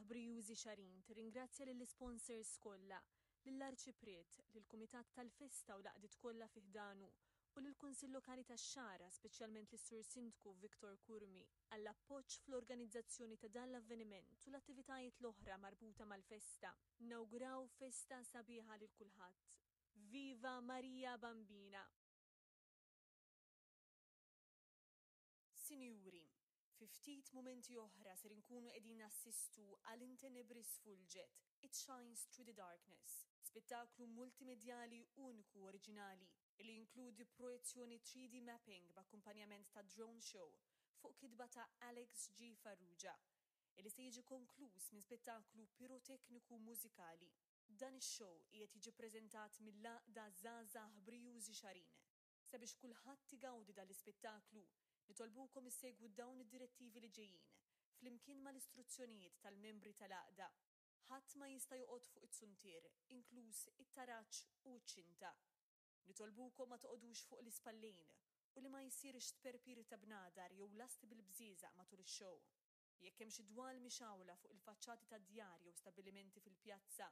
Żgħażagħ Brijużi Xagħrin tirringrazzja lill-isponsors kollha, lill-Arċipriet, lill-Kumitat tal-Festa u l-għaqdiet kollha fi ħdanu u lill-Kunsill Lokali tax-Xagħra, speċjalment lis-Sur Sindku Victor Curmi, għall-appoġġ fl-organizzazzjoni ta' dan l-avveniment u l-attivitajiet l-oħra marbuta mal-festa. Nawguraw festa sabiħa lil kulħadd. Viva Marija Bambina! Sinjuri, fi ftit mumenti oħra ser inkunu qegħdin nassistu għal In Tenebris Fulget, It Shines Through the Darkness, spettaklu multimedjali uniku u oriġinali illi jinkludi projezzjoni 3D mapping b'akkumpanjament ta' drone show fuq kitba ta' Alex G. Farrugia, illi se jiġi konkluż minn spettaklu pirotekniku mużikali. Dan ix-show qiegħed jiġi ppreżentat mill-Għaqda Żgħażagħ Brijużi Xagħrin. Sabiex kulħadd igawdi dan l-ispettaklu, nitolbukom issegwu dawn id-direttivi li ġejjin, flimkien mal-istruzzjonijiet tal-membri tal-għaqda. Ħadd ma jista' joqgħod fuq it-suntier, inkluż it-taraġ u ċ-ċinta. Nitolbukom ma toqgħodux fuq l-ispallejn u li ma jsirx tperpir ta' bnadar jew lasti bil-bżieżaq matul ix-show. Jekk hemm xi dwal mixgħula fuq il-faċċati ta' djar jew stabbilimenti fil-pjazza,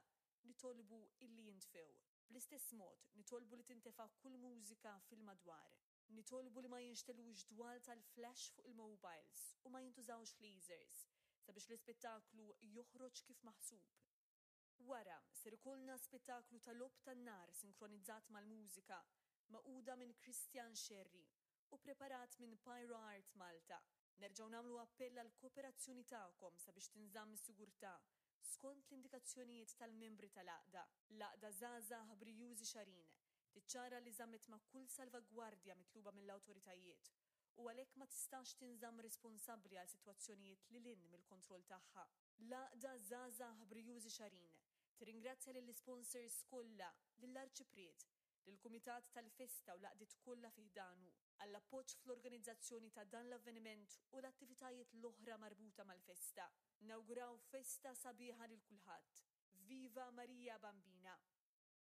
nitolbu illi jintfew. Bl-istess mod, nitolbu li tintefa' kull mużika fil-madwar. Nitolbu li ma jinxtegħlux dwal tal-flash fuq il-mobiles u ma jintużawx lasers sabiex l-ispettaklu joħroġ kif maħsub. Wara, ser ikollna spettaklu ta' logħob tan-nar sinkronizzat mal-mużika, magħquda minn Christian Scerri u preparat minn Pyro Art Malta. Nerġgħu nagħmlu appell għall-kooperazzjoni tagħkom sabiex tinżamm is-sigurtà skont l-indikazzjonijiet tal-membri tal-għaqda. L-Għaqda Żgħażagħ Brijużi Xagħrin tiċċara li żammet ma' kull salvagwardja mitluba mill-awtoritajiet u għalhekk ma tistax tinżamm responsabbli għal sitwazzjonijiet lil hinn mill-kontroll tagħha. L-Għaqda Żgħażagħ Brijużi Xagħrin tirringrazzja lill-isponsors kollha, lill-Arċipriet, lill-Kumitat tal-Festa u l-għaqdiet kollha fi ħdanu għall-appoġġ fl-organizzazzjoni ta' dan l-avveniment u l-attivitajiet l-oħra marbuta mal-festa. Nawguraw festa sabiħa lil kulħadd. Viva Marija Bambina!